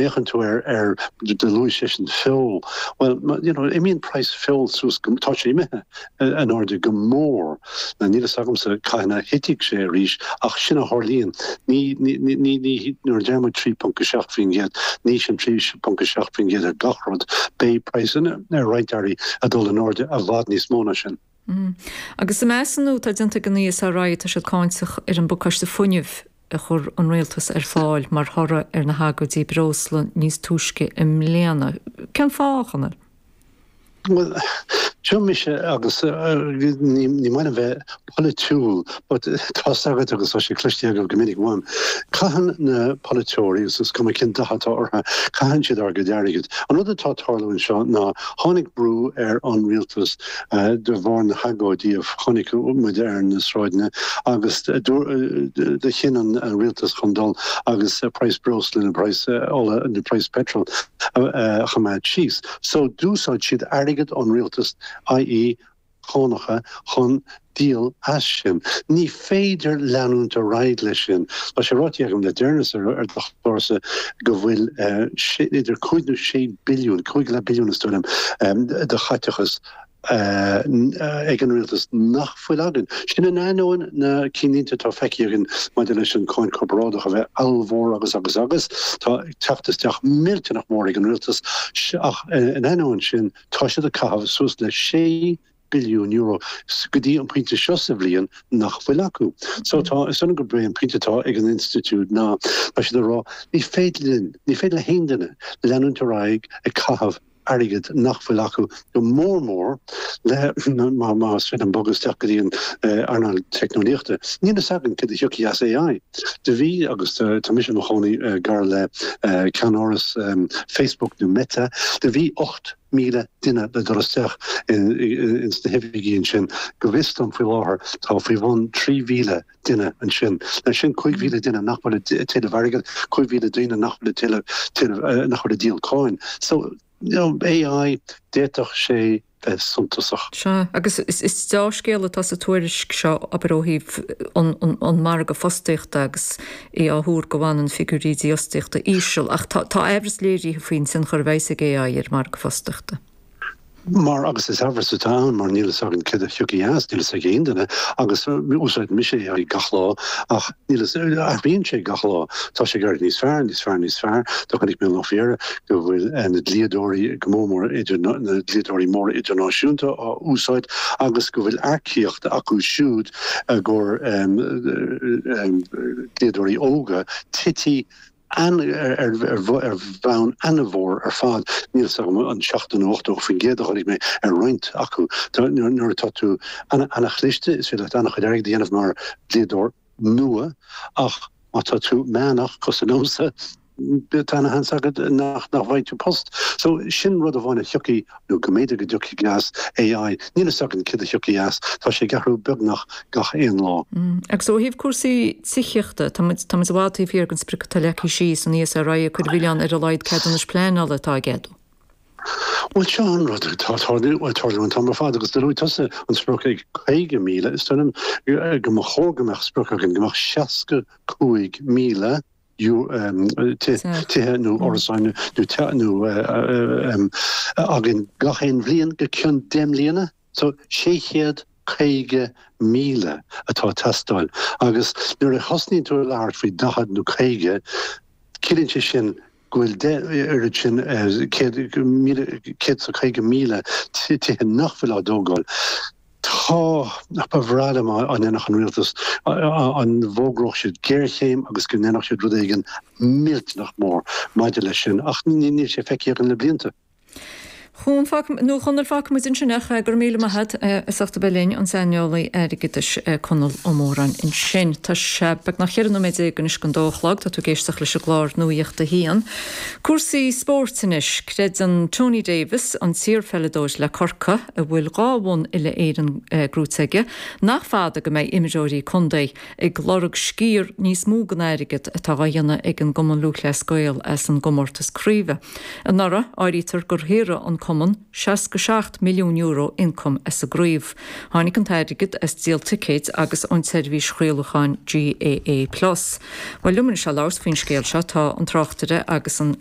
Féachann tú ar, ar, do luaigh seisean feoil, bhuel, you know, imíonn praghas feoil suas go, tá sé imithe in airde go mór. Now níl fhios agamsa cathain a thitfidh sé arís ach sin a tharlaíonn. Ní, ní, ní, ní, nuair a deir muid 3.7%, ní sin 3.7% ar gach rud, beidh praghsanna ar roinnt earraí ag dul in airde i bhfad níos mó ná sin. Agus sa measúnú atá déanta ag an ESRI tá siad cáinteach ar an bpacáiste fuinnimh a chuir an rialtas ar fáil mar thoradh ar na hagóidí breosla níos túisce i mbliana. Cén fáth, a Chonaill? Bhuel, seo mise agus ní maith liom bheith polaitiúil but tá's agat agus tá sé cloiste agaibh go minic uaim, caitheann na polaiteoirí, agus is cuma cén dath atá orthu, caitheann siad ár gcuid airgid. An rud atá ag tarlú anseo ná tháinig brú ar an rialtas de bharr na hagóidí a chonaic muid ar na sráideanna agus do chinn an rialtas chun dul agus praghas breosla nó praghas ola nó praghas petrol a choimeád síos. So d'úsáid siad airgead ón rialtas, i.e. cánacha, chun díol as sin. Ní féidir leanúint ar aghaidh leis sin. Tá sé ráite agam le deireanas ar do chlársa go bhfuil idir 5 nó 6 billiún, 5.5 billiún is dóigh liom, de chaiteachas ag an rialtas nach bhfuil againn. Sin in ainneoin na cinnlínte atá feicthe againn maidir leis an cáin corparáideach a bheith ollmhór agus agus agus. Tá teacht isteach millteanach mór ag an rialtas ach in ainneoin sin tá siad ag caitheamh suas le €6 billiún go dtí an pointe seo sa bhliain nach bhfuil acu. So tá, is dóigh liom gurb é an pointe atá ag an institiúid ná, tá siad ag rá, ní féidir linn, ní féidir le haon duine leanúint ar aghaidh ag caitheamh airgead nach bhfuil acu, go mór mór le, más féidir liom bogadh isteach go dtí an earnáil teicneolaíochta. Níl fhios againn céard a thiocfaidh as AI. Do bhí, agus tá mise i mo chónaí gar le ceannáras Facebook nó Meta, do bhí 8,000 duine le dul isteach ins na hoifigí ansin. Go bhfios dom faoi láthair tá faoi bhun 3,000 duine ansin. Now sin 5,000 duine nach bhfuil ag tuilleamh airgid, 5,000 daoine nach bhfuil ag tuilleamh, nach bhfuil ag díol cáin. So, you know, AI, d'fhéadfadh sé bheith suntasach. Sea, agus is deá-scéal atá sa tuairisc seo, abair, ó thaobh an margadh fostaíochta agus é á thuar go bhfanann figiúirí dífhostaíochta íseal, ach tá aimhreas léirithe faoin tionchar a bheas ag AI ar an margadh fostaíochta. Mar, agus is aimhreas atá ann, mar níl fhios againn céard a thiocfaidh as, níl fhios ag aon duine, agus úsáideann mise AI gach lá, ach níl fhios, athraíonn sé gach lá. Tá sé ag éirí níos fearr, níos fearr, níos fearr. Do chonaic mé an lá faoi dheireadh go bhfuil na dlíodóirí, go mór mór idir, na dlíodóirí móra idirnáisiúnta á úsáid agus go bhfuil earcaíocht acu siúd i gcomhair dlíodóirí óga tití ar bhonn an-mhór ar fad. Níl fhios agam an 70 nó 80% a chonaic mé ar roinnt acu. Nuair atá tú an-chliste, is féidir leat an-chuid airgid a dhéanamh mar dhlíodóir nua ach má tá tú meánach, cosúil liomsa, tá ana-sheans agat nach bhfaighidh tú post. So sin rud amháin a thiocfaidh, nó go mb'fhéidir go dtiocfaidh as AI. Níl fhios againn céard a thiocfaidh as. Tá sé ag athrú beagnach gach aon lá. Agus ó thaobh cúrsaí tithíochta, tá muid, tá muid i bhfad taobh thiar den sprioc atá leagtha síos, an ESRI ag cur an mhilleáin ar a laghad ceadúnais pleanála atá á gceadú. Bhuel, seo an rud atá ag tarlú an t-am ar fad agus do luaigh tusa an sprioc ag 50,000. Is dóigh liom go mba chóir go mbeadh sprioc againn go mbeadh 65,000 tithe nó árasáin nó againn gach aon bhliain go ceann 10 mbliana. So 650,000 atá ag teastáil agus nuair a thosnaíonn tú ag labhairt faoi 40 nó 50, ciallaíonn sé sin go bhfuil 10 oiread sin, 150,000 tithe nach bhfuil á dtógáil. Tá, ba bhreá liom dá ndéanfadh an rialtas, an bhfógródh siad géarchéim agus go ndéanfadh siad rud éigin millteanach mór maidir leis sin, ach níl sé feicthe againn le blianta. Chuan, nó Chonaill, fágfaidh muid ansin é ach go raibh míle maith agat as ucht a bheith linn, an saineolaí airgeadais Conall Ó Móráin ansin. Tá sé beagnach 14 nóiméad anois don dó a chlog, tá tú ag éisteacht leis an gclár Nuacht a hAon. Cúrsaí spóirt anois. Creideann Tony Davis, an t-iarpheileadóir le Corcaigh, a bhfuil dhá bhonn uile-Éireann gnóite aige, nach fada go mbeidh imreoirí contae ag lorg sciar níos mó den airgead atá á dhéanamh ag an gCumann Lúthchleas Gael as an gcomórtas craoibhe. Anuraidh, áirítear gur shaothraigh an. cumann €67 milliún ioncaim as an gcraobh. Tháinig an t-airgead as díol ticéid agus ón tseirbhís chraolacháin GAA Plus. Bhuel, liom anois le labhairt faoin scéal seo tá an tráchtaire agus an.